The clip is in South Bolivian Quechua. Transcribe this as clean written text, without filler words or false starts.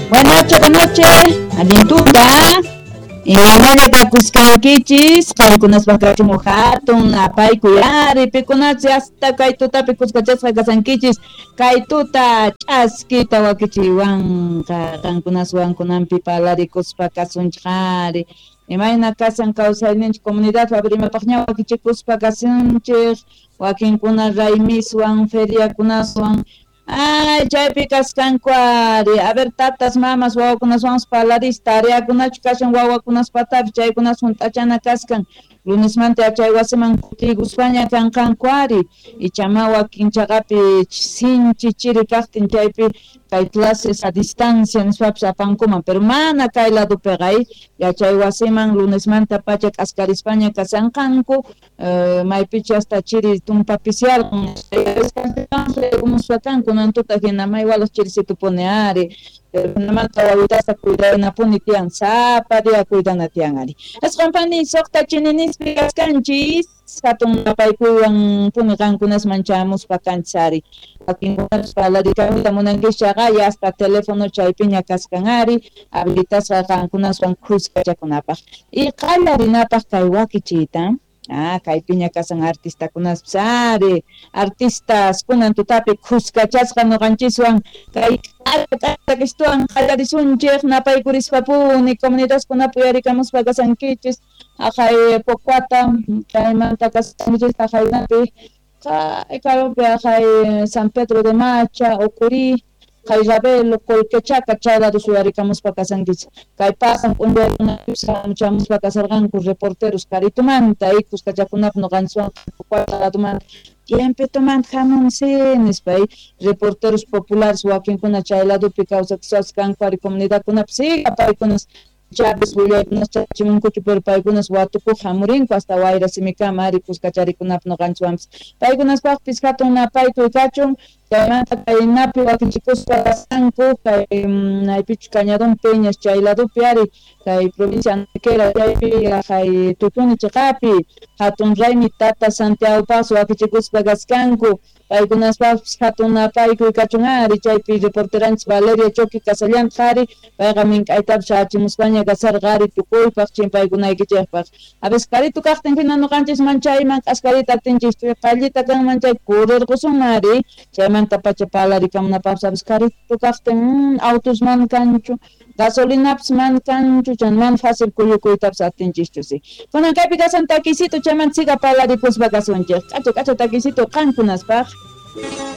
Buenas noches, buenas noches. Allin tuta. Imaynalla kakusqankichis, qankunaspaq kachun hatun napaykuy ari, pikunachi hasta kay tutapi kuskachasqa kasankichis, kay tuta ch'askita wakichiwanqa, qankunaswan kunanpi parlarikuspa kasunchik ari. Imayna kasan kawsayninchik comunidad imapaqña wakichikuspa kasunchik, wakinkuna raymiswan, feriakunaswan. Ay, chaypi kasqanku ari. A ver, tatas, mamas, wawakunaswanpas parlaris, tareakunachu kashan wawakunaspatapis chaykunas hunt'achana kaskan. Lunesmanta yachay wasiman kutiykuspaña kanqanku ari. Ichama wakin chaqapi sinchi chiri kaqtin chaypi kay clases a distancia nispapis apankuman, pero mana kay ladopiqa yachay wasiman lunesmanta pacha k'askarispaña kasanqanku, maypichu hasta chiri tumpapisiarqun kunan tuta hina may walaq chirisitupuni ari. Pero wawitasta cuidanapuni tiyan, sapa día cuidana tiyan ari. Asqanpani suqta chininispi kaskanchis, hatun napaykuywan puni qankunasman chamuspa kanchis ari. Wakinkunapas parlarikamuyta munankischaqa ya hasta teléfono chaypiña kaskan ari, habilitasqa qankunaswan khuskachakunapaq. Y qallarinapaq kay wakichiyta. Ah, kaypiña kasan artistakunaspis ari, artistas kunan tutapi khuskachasqa ñuqanchiswan kay k'astuwan qallarisunchik napaykurispa-puni comunidadkunapi uyarikamuspa kasankichis haqay Pocuata chaymanta kasankichis haqaynapi kay karupi haqay San Pedro de Macha, Ocurí, kay Ravelo, Colquechaca chay lados uyarikamuspa kasankichis. Kay pasan p'unchaykunapis chamuspa kasarqanku reporteros Caritumanta y kuskachakunap ñuqanchiswan Pocuata ladomanta tiempitumanta hamunsi nispa reporteros populares wakinkuna chay ladopi kawsakuspas kanku ari comunidadkunapi siga paykunas chapis willaykunas chachimunkuchu pero paykunas watukuq hamurinku hasta wayra simikama ari kuskacharikunap ñuqanchiswanpis. Paykunaspaqpis hatun napaykuy kachun, chaymanta kay napi wakichikuspa kasqanku kay maypichu Cañadón Peñas chay ladopi ari kay provincia Antequera chaypi kay Tutuni chiqapi hatun raymi Tata Santiagopaqpas wakichikuspa kasqanku. Paykunaspaqpis hatun napaykuy kachun ari chaypi reporteranchis Valeria Choqui kasallantaq ari payqa mink'aytapis shachimuspaña kasarqa ari tukuypaq chimpaykunaykichikpaq. A veces karitu kaqtin hina ñuqanchisman chayman k'askarita atinchis qallita kanman chay kurirqusunman ari chaymanta pacha parlarikamunapaqpas a veces karitu kaqtin autos mana kanchu, gasolinapis mana kanchu, chay mana fácil kuyukuytapis atinchischu si. Kunan kaypi kasan takisito chaymanta siga parlarikuspa kasunchik. K'acha k'acha takisito qankunaspaq.